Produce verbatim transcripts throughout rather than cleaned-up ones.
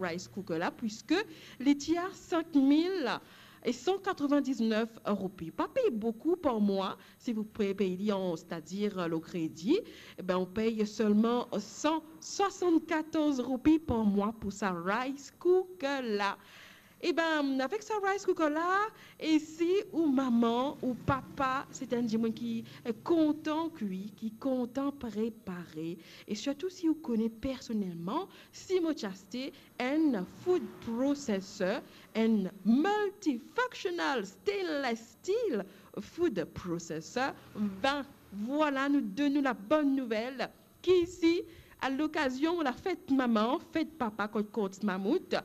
rice cooker la, puiske li ti a cinq mille et cent quatre-vingt-dix-neuf roupi. Pa pey boukou par mwa, si ou pe pey li an, setadir, euh, le kredi, e ben, ou pey selman cent soixante-quatorze roupi par mwa pou sa rice cooker la. E ben, avek sa rice cooker la, e si ou mama ou papa, se enn dimoun ki, eh, kontan kwi, ki kontan prepare, e sirtou si ou kone personelman, si mo ti aste enn food processor, enn multifunctional stainless steel food processor, ben, vwala, nou donn ou la bonn nouvel, ki isi, a lokazion lafet mama, fet papa kot Courts Mammouth,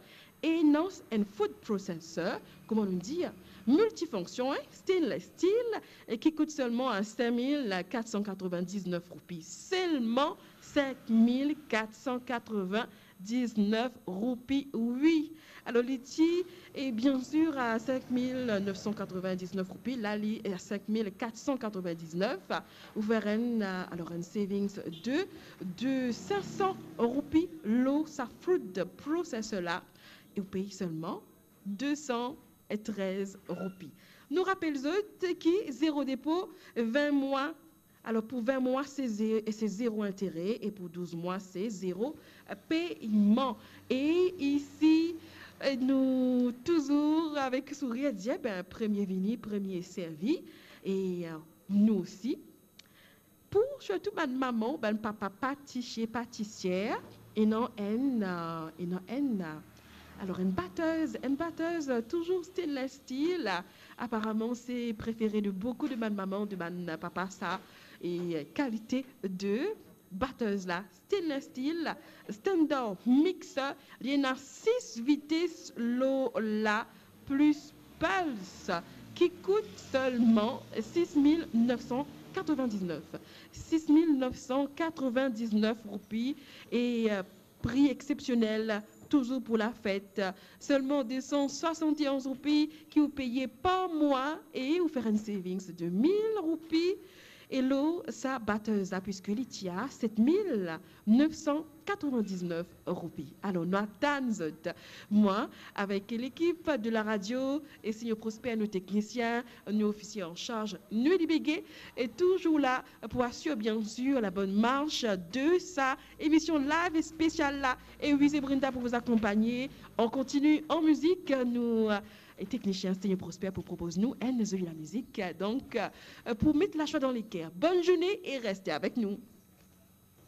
ena enn food processor, kouma nou dir, miltifonksion, hein, stainless steel, e ki kout selman a cinq mille quatre cent quatre-vingt-dix-neuf roupi. Selman cinq mille quatre cent quatre-vingt-dix-neuf roupi, wi. Alor, li ti, e bien sir, a cinq mille neuf cent quatre-vingt-dix-neuf roupi, la li a cinq mille quatre cent quatre-vingt-dix-neuf. Ou fer enn, euh, alor, enn savings de, de cinq cents roupi lor sa food processor la, e ou pey selman deux cent treize roupi. Nou rapel zot ki zero depo, vin mwa. Alor, pou vin mwa, se ze-, se zero intere, e pou douz mwa, se zero, euh, peyman. E isi, euh, nou touzour avek sourir, dir, ben, premie vini, premie servi. E, euh, nou osi, pou sirtou bann mama, bann papa patisie, patisier, ena enn, euh, ena enn, euh, alor, enn batez, enn batez, euh, touzour stainless steel. Aparaman, se prefere de boukou de bann mama, de bann papa, sa, e, euh, kalite de batez la, stainless steel, standard mixer, li ena sis vites lor la, plis pulse, ki kout selman six mille neuf cent quatre-vingt-dix-neuf. Six mille neuf cent quatre-vingt-dix-neuf roupi, e, euh, pri exsepsionel, touzour pou lafet. Selman deux cent soixante et onze roupi ki ou peye par mwa, e ou fer enn savings de mille roupi. E lor sa batez la, puiske li ti a sept mille neuf cent quatre-vingt-dix-neuf roupi. Alor, nou atann zot. Mwa, avek lekip de la radio, e Seigneur Prosper, nou teknisien, nou ofisie an sarz, nou libege, e touzour la pou asir, bien sir, la bonn mars de sa emision live spesial la. E wi, se Brenda pou vous accompagner. On continue en musique. Nou, euh, e teknisien Seigneur Prosper pou propoz nou enn zoli lamizik. Donk, euh, pou met lazwa dan leker. Bonn zourne e reste avek nou.